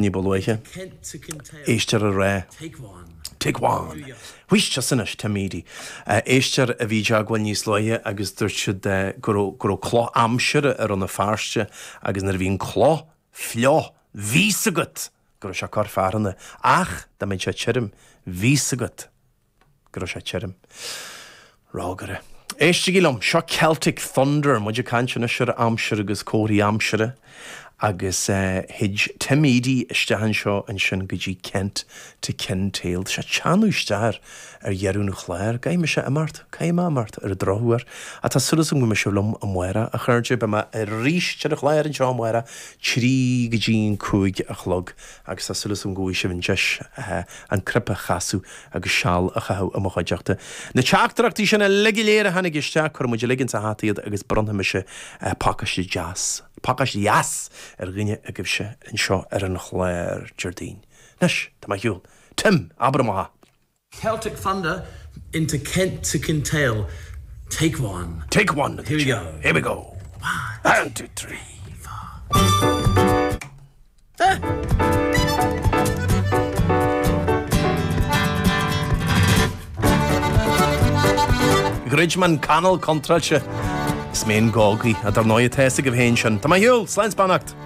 Ní ba luaithe. Éisteoir ag rá. Take one. Wheesht, tusa anois, Tim Edey. Éisteoir a bhí i dteagmháil níos luaithe agus dúirt siad go raibh go raibh cloch aimsire i Rann na Feirste agus nuair a bhí an cloch fliuch bhí 's agat go raibh sé ag cur fearthainne ach dá mbeadh sé tirim bhí 's agat go raibh sé tirim. Rógaire. Éistigí liom, seo Celtic Thunder, muid ag caint anois ar aimsir agus comharthaí aimsire agus thit Tim Edey isteach anseo ansin go dtí Kent to Kintail. Tá sé ag teannadh isteach ar ar dheireadh an chláir. Caithfidh mise imeacht, caithfidh mé imeacht ar an drochuair. Ach tá súil agam go mbeidh sibh liom amárach, a chairde. Beidh mé arís ar an chlár anseo amárach, 3 go dtí an 5 a chlog agus tá súil agam go bhfaighidh sibh an deis an cnaipe a chasadh agus seal a chaitheamh i mo chuideachta. Na teachtaireachtaí sin uilig go léir a tháinig isteach, cuirfidh muid uilig insa hata iad agus bronnfaidh mise pacáiste deas, pacáiste dheas ar dhuine agaibhse anseo ar an chlár Déardaoin. Anois, tá mé ar shiúl. Tim, abair amach é! Celtic Thunder into Kent to Kintail, take one. Take one! Here we go. Here we go. One, two, three, four. Dhruid mé an canal contráilte is mé an gógaí, dar ndóigh tá a fhios agaibh féin sin. Tá mé ar shiúl! Slán 's beannacht!